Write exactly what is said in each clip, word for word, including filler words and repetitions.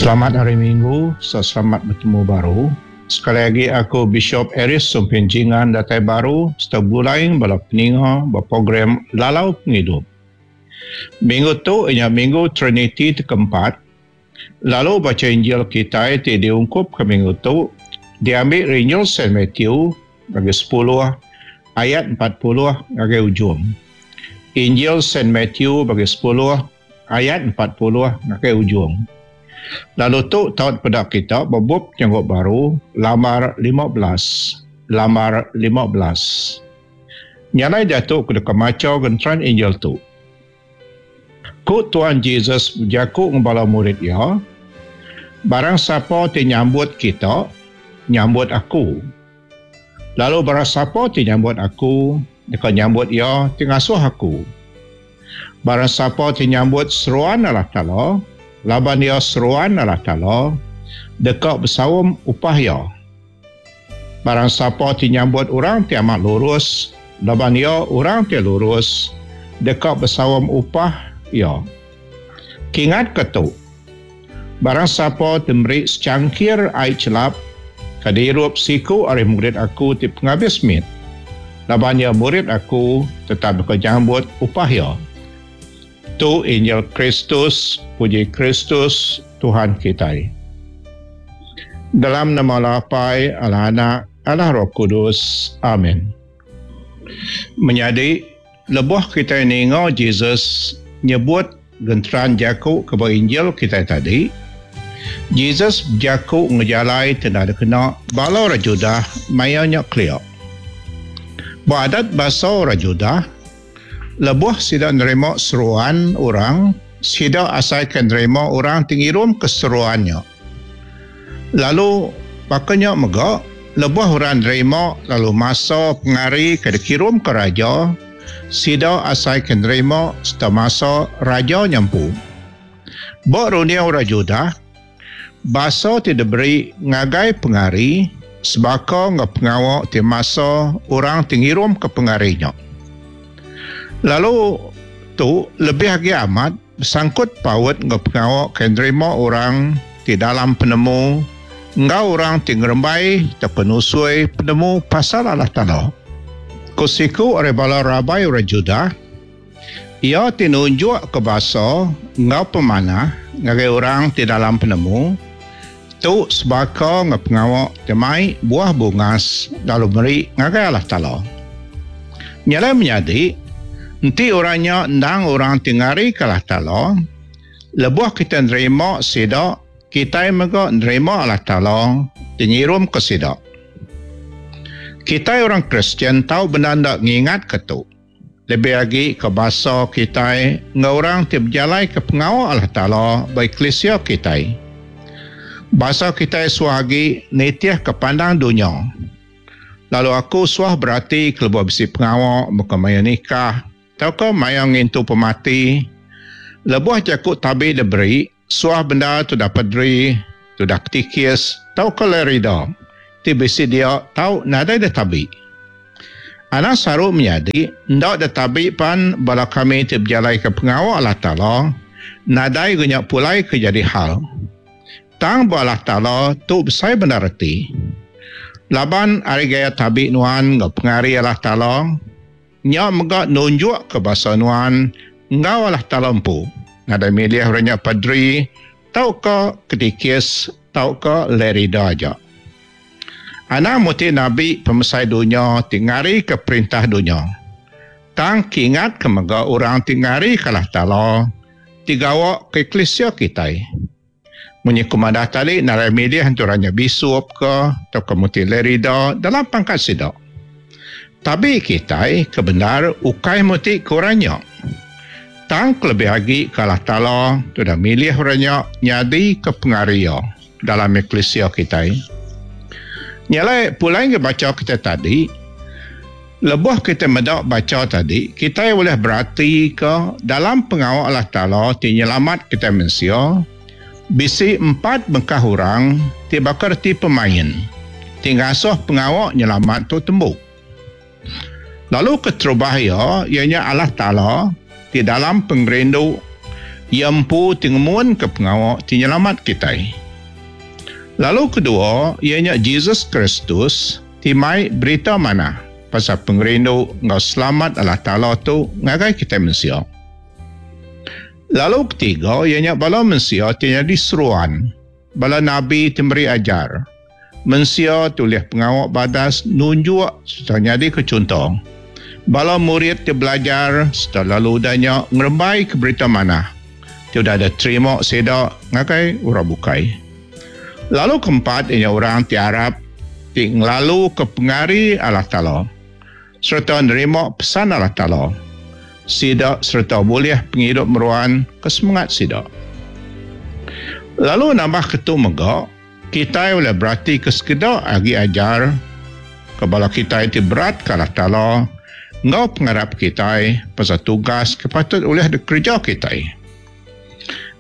Selamat Hari Minggu, selamat betemu baru. Sekali lagi aku Bishop Aris Sumpin Jingan datai baru serta begulai bala peninga ba program Lalau Pengidup. Minggu tu inya Minggu Trinity ti keempat, lalu bacha Injil kitai ti diungkup ke minggu tu diambi ari Injil Saint Matthew bagi sepuluh ayat empat puluh ngagai ujung. Injil Saint Matthew bagi sepuluh ayat empat puluh ngagai ujung. Lalu tu tau peda kita ba bup Penyanggup Baru lambar lima belas. Lambar lima belas. Nyalai diatu ku deka macha genteran Injil tu. Ku Tuhan Jesus bejaku ngan bala murid iya, barang sapa ti nyambut kita, nyambut aku. Lalu barang sapa ti nyambut aku, deka nyambut iya ti ngasuh aku. Barang sapa ti nyambut seruan Allah Taala, laban iya seruan Allah Taala, deka besaum upah iya. Barang sapa ti nyambut orang ti amat lurus, laban iya orang ti lurus, deka besaum upah iya. Kingat ke tu, barang sapa ti meri secangkir ai chelap ke diirup siku ari murid aku ti pengabis mit, laban iya murid aku, tetap deka nyambut upah iya. Tu Injil Kristus, puji Kristus Tuhan kitai. Dalam nama Allah Apai, Allah Anak, Allah Roh Kudus. Amin. Menyadi, lebuh kitai ninga Jesus nyebut genteran jaku ke ba Injil kitai tadi, Jesus bejaku ngejalai ti enda dikena bala orang Judah maya nya kelia. Ba adat basa orang Judah, lebuh sida nerima seruan orang, sida asai ke nerima orang ti ngirum ke seruan nya. Lalu baka nya mega, lebuh orang nerima lalu masa pengari ke dikirum ke raja, sida asai ke nerima serta masa raja nya empu. Ba runding orang Judah, basa ti diberi ngagai pengari sebaka enggau pengawa ti masa orang ti ngirum ke pengari nya. Lalu tu lebih agi amat besangkut paut enggau pengawa ke nerima orang ti dalam penemu enggau orang ti ngerembai tauka nusui penemu pasal Allah Taala. Ku siku ari bala rabai orang Judah, iya ti nunjuk ke basa enggau pemanah ngagai orang ti dalam penemu, tu sebaka enggau pengawa ti mai buah bungas lalu meri ngagai Allah Taala. Nyalai menyadi, enti orang nya endang orang ti ngarika Allah Taala, lebuh kita nerima sida, kitai mega nerima Allah Taala ti ngirumka sida. Kitai orang Kristian tau bendar enda ngingatka tu, lebih agi ke basa kitai enggau orang ti bejalaika pengawa Allah Taala ba eklisia kitai. Basa kitai suah agi nitihka pandang dunya. Lalu aku suah berati kelebuh bisi pengawa baka maya nikah tauka maya ngintu pemati, lebuh jaku tabi diberi, suah bendar tudah padri, tudah ketikis tauka lerida ti bisi dia tau nadai ditabi. Anak saru menyadi enda ditabi pan bala kami ti bejalaika pengawa Allah Taala nadai ga nya pulai ke jadi hal. Tang ba Allah Taala tu besai bendar reti. Laban ari gaya tabi nuan enggau pengari Allah Taala, nya mega nunjukka basa nuan enggau Allah Taala empu. Nadai milih orang nya padri tauka ketikis tauka lerida aja. Anang muti nabi pemesai dunya ti ngarika perintah dunya. Tang kingatka mega orang ti ngarika Allah Taala ti gawa ke eklisia kitai. Munyi ku madah tadi narai milih enti orang nya bisup ke tauka muti lerida dalam pangkat sida. Tabi kitai ke bendar ukai muti ke orang nya. Tang kelebih agi ke Allah Taala ti udah milih orang nya nyadi ke pengari iya dalam eklisia kitai. Nya alai pulai ngagai bacha kitai tadi, lebuh kitai meda bacha tadi, kitai ulih beratika dalam pengawa Allah Taala ti nyelamat kitai mensia, bisi empat bengkah orang ti baka reti pemain ti ngasuh pengawa nyelamat tu tembu. Lalu keterubah iya, iya nya Allah Taala ti dalam pengerindu Iya empu ti ngemun ke pengawa ti nyelamat kitai. Lalu kedua, iya nya Jesus Kristus ti mai berita manah pasal pengerindu enggau selamat Allah Taala tu ngagai kitai mensia. Lalu ketiga, iya nya bala mensia ti nyadi seruan, bala nabi ti meri ajar. Mensia ti ulih pengawa badas nunjuk sereta nyadika chunto. Bala murid ti belajar sereta lalu udah nya ngerembaika berita manah ti udah diterima sida ngagai orang bukai. Lalu keempat iya nya orang ti arap ti ngelaluka pengari Allah Taala sereta nerima pesan Allah Taala sida sereta bulih pengidup meruan ke semengat sida. Lalu nambahka tu mega, kitai ulih beratika sekeda agi ajar ke bala kitai ti beratka Allah Taala enggau pengarap kitai pasal tugas ke patut ulih dikereja kitai.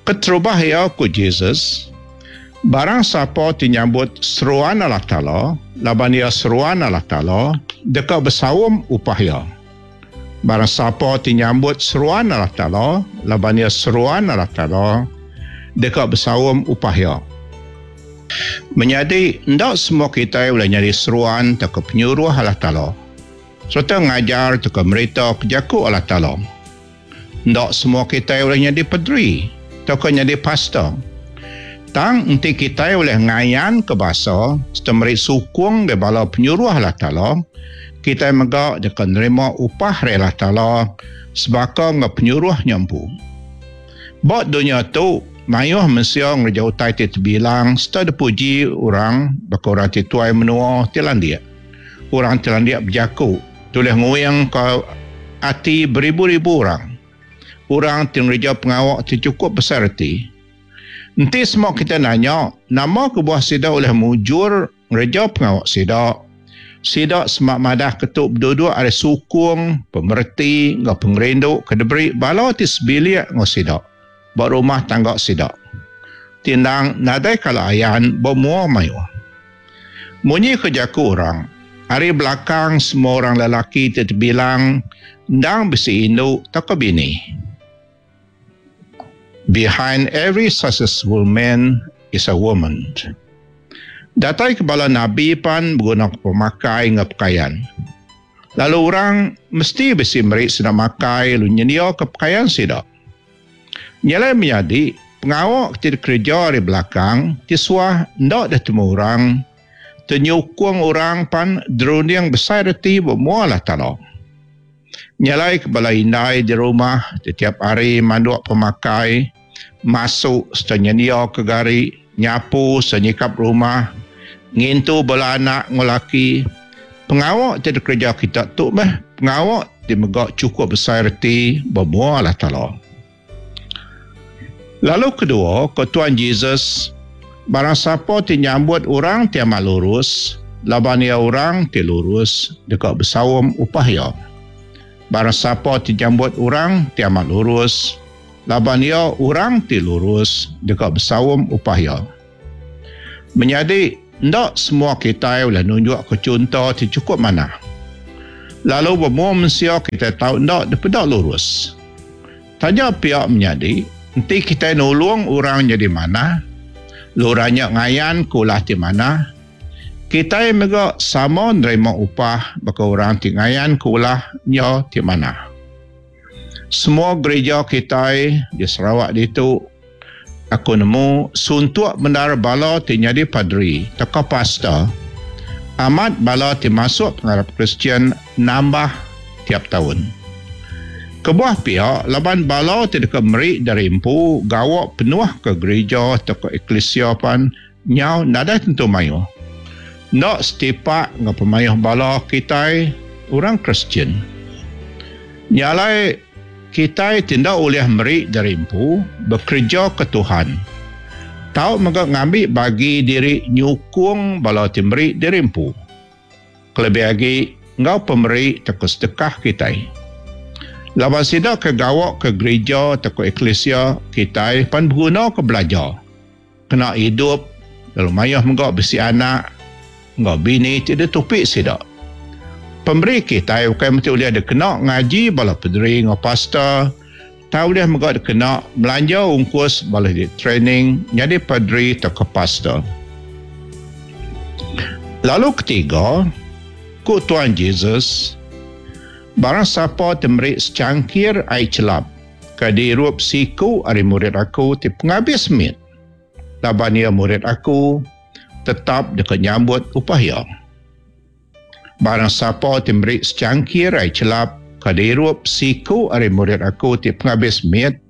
Keterubah iya ku Jesus, Barang sapa ti nyambut seruan Allah Taala, laban iya seruan Allah Taala, deka besaum upah iya. Barang sapa ti nyambut seruan Allah Taala, laban iya seruan Allah Taala, deka besaum upah iya. Menyadi, enda semua kitai ulih nyadi seruan tauka penyuruh Allah Taala, sereta ngajar tauka meritaka jaku Allah Taala. Enda semua kitai ulih nyadi paderi tauka nyadi pastor. Tang enti kitai ulih ngayanka basa sereta meri sukung ngagai bala penyuruh Allah Taala, kitai mega deka nerima upah ari Allah Taala sebaka enggau penyuruh nya empu. Ba dunya tu, mayuh mensia ngereja utai ti tebilang sereta dipuji orang baka orang ti tuai menua ti landik, orang ti landik bejaku ti ulih nguingka ati beribu-ribu orang, orang ti ngereja pengawa ti chukup besai reti. Enti sema kitai nanya nama kebuah sida ulih mujur ngereja pengawa sida, sida sema madah ke tu beduduk ari sukung, pemereti enggau pengerindu ke diberi bala ti sebilik enggau sida ba rumah tangga sida ti endang nadai kala ayan ba mua mayuh. Munyi ke jaku orang, ari belakang semua orang lelaki ti tebilang endang bisi indu tauka bini. Behind every successful man is a woman. Datai ke bala nabi pan begunaka pemakai enggau pekayan. Lalu orang mesti bisi meri sida makai lalu nyendiaka pekayan sida. Nya alai menyadi, pengawa ti dikereja ari belakang ti suah enda ditemu orang, ti nyukung orang pan derunding besai reti ba mua Allah Taala. Nya alai ke bala indai di rumah tetiap hari manduk pemakai, masu sereta nyendiaka gari, nyapu sereta nyikap rumah, ngintu bala anak enggau laki. Pengawa ti dikereja kita tu meh pengawa ti mega chukup besai reti ba mua Allah Taala. Lalu kedua, ku Tuan Jesus, Barang sapa ti nyambut orang ti amat lurus, laban iya orang ti lurus, deka besaum upah iya. Barang sapa ti nyambut orang ti amat lurus, laban iya orang ti lurus, deka besaum upah iya. Menyadi, enda semua kitai ulih nunjukka chunto ti chukup manah. Lalu ba mua mensia kitai tau enda dipeda lurus. Taja pia menyadi, enti kitai nulung orang nyadi manah, lalu orang nya ngayanka ulah ti manah, kitai mega sama nerima upah baka orang ti ngayanka ulah nya ti manah. Semua gerija kitai di Sarawak ditu, aku nemu suntuk bendar bala ti nyadi paderi tauka pastor. Amat bala ti masuk pengarap Kristian nambah tiap taun. Kebuah pia laban bala ti deka meri diri empu gawa penuh ke gerija tauka eklisia pan nyau nadai tentu mayuh. Enda setipak enggau pemayuh bala kitai orang Kristian. Nya alai kitai ti enda ulih meri diri empu bekereja ke Tuhan tau mega ngambi bagi diri nyukung bala ti meri diri empu, kelebih agi enggau pemeri tauka sedekah kitai. Laban sida ke gawa ke gerija tauka eklisia kitai pan begunaka belajar kena idup lalu mayuh mega bisi anak enggau bini ti ditupi sida. Pemeri kitai ukai mesti ulih dikena ngaji bala pederi enggau pastor Tau ulih mega dikena melanja ungkus bala di training nyadi paderi tauka pastor. Lalu ketiga, ku Tuan Jesus, barang sapa ti meri secangkir ai chelap ke diirup siku ari murid aku ti pengabis mit, laban iya murid aku, tetap deka nyambut upah iya. Barang sapa ti meri secangkir ai chelap ke diirup siku ari murid aku ti pengabis mit,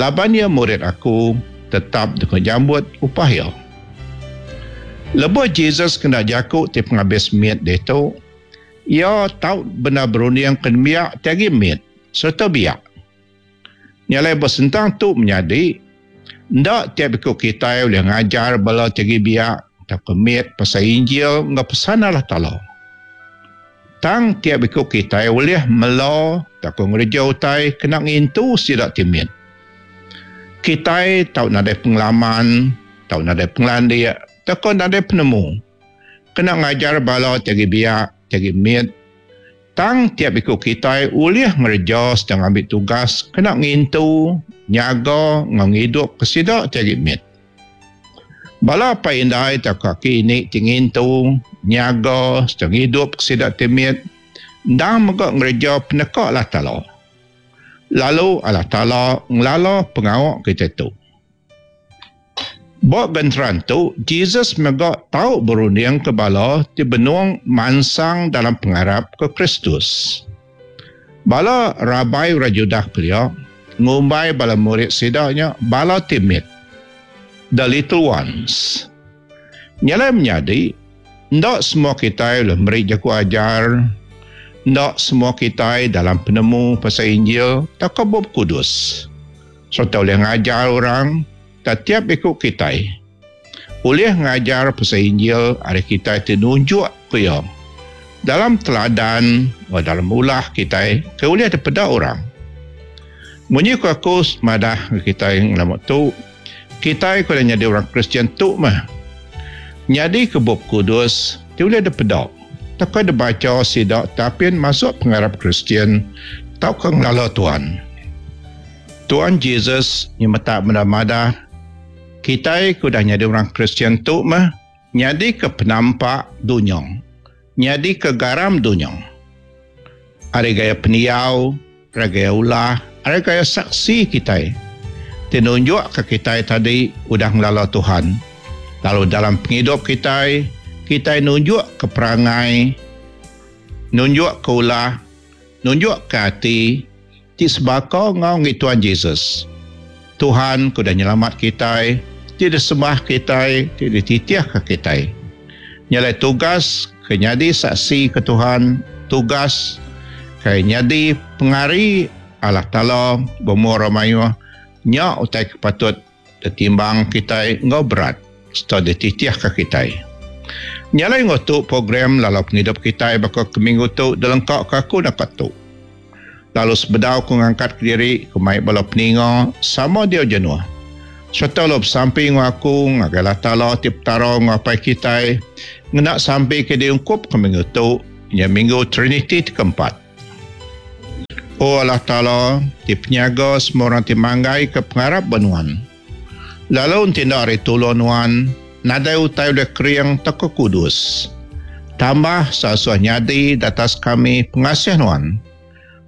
laban iya murid aku, tetap deka nyambut upah iya. Lebuh Jesus kena jaku ti pengabis mit ditu, iya tau bendar berunding ke nembiak ti agi mit sereta biak. Nya alai ba sentang tu menyadi, enda tiap iku kitai ulih ngajar bala ti agi biak tauka mit pasal Injil enggau pesan Allah Taala. Tang tiap iku kitai ulih mela tauka ngereja utai kena ngintu sida ti mit. Kitai tau nadai pengalaman, tau nadai pengelandik tauka nadai penemu kena ngajar bala ti agi biak, ti agi mit. Tang tiap iku kitai ulih ngereja sereta ngambi tugas kena ngintu, nyaga enggau ngidupka sida ti agi mit. Bala apai indai tauka aki ini ti ngintu, nyaga sereta ngidupka sida ti mit endang mega ngereja peneka Allah Taala. Lalu Allah Taala ngelala pengawa kitai tu. Ba genteran tu, Jesus mega tau berundingka bala ti benung mansang dalam pengarap ke Kristus. Bala rabai orang Judah kelia ngumbai bala murid sida nya bala ti mit, the little ones. Nya alai menyadi, enda semua kitai ulih meri jaku ajar, enda semua kitai dalam penemu pasal Injil tauka Bup Kudus sereta ulih ngajar orang. Tetiap iku kitai ulih ngajar pasal Injil ari kitai ti nunjuk ku iya dalam teladan enggau dalam ulah kitai ke ulih dipeda orang. Munyi ku aku madah ngagai kitai ngelama tu, kitai ke udah nyadi orang Kristian tu meh nyadika Bup Kudus ti ulih dipeda tauka dibacha sida ti apin masuk pengarap Kristian tauka ngelala Tuhan. Tuan Jesus nyemetak bendar madah, kitai ke udah nyadi orang Kristian tu meh nyadika penampak dunya, nyadika garam dunya. Ari gaya pendiau, ari gaya ulah, ari gaya saksi kitai ti nunjukka kitai tadi udah ngelala Tuhan. Lalu dalam pengidup kitai, kitai nunjukka perangai, nunjukka ulah, nunjukka ati ti sebaka enggau enggi Tuan Jesus. Tuhan ke udah nyelamat kitai, ti disembah kitai, ti dititihka kitai. Nya alai tugas ke nyadi saksi ke Tuhan, tugas ke nyadi pengari Allah Taala bemua orang mayuh, nya utai ke patut ditimbang kitai enggau berat sereta dititihka kitai. Nya alai enggau tu program lalau pengidup kitai baka ke minggu tu dilengkaka aku naka tu. Lalu sebedau ku ngangkat kediri ku mai bala peninga sama diau jenuh sereta lalu besampi enggau aku ngagai Allah Taala ti Petara enggau Apai kitai ngena sampi ke diungkupka minggu tu nya minggu Triniti ti keempat. O Allah Taala ti penyaga semua orang ti manggaika pengarap ba Nuan. Lalu enti enda ari tulung Nuan nadai utai ulih kering tauka kudus. Tambah seasuh nyadi datas kami pengasih Nuan.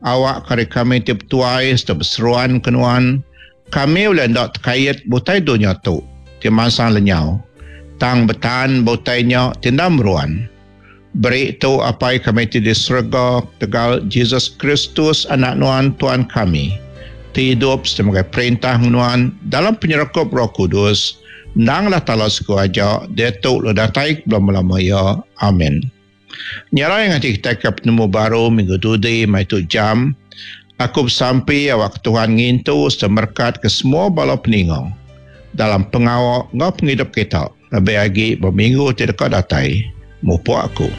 Awak ke ari kami ti betuai sereta beseruan ke Nuan, kami ulih enda tekait ba utai dunya tu ti mansang lenyau, tang betan ba utai nya ti enda meruan. Beri tu Apai kami ti di serega ketegal Jesus Kristus Anak Nuan Tuan kami, ti idup sereta megai perintah enggau Nuan dalam penyerakup Roh Kudus, endang Allah Taala siku aja, diatu lalu datai ke belama-lama iya. Amin. Nya alai ngaji kitai ke penemu baru minggu dudi mai tu jam, aku besampi awakka Tuhan ngintu sereta merekatka semua bala peninga dalam pengawa enggau pengidup kita lebih agi ba minggu ti deka datai. Mupuk aku.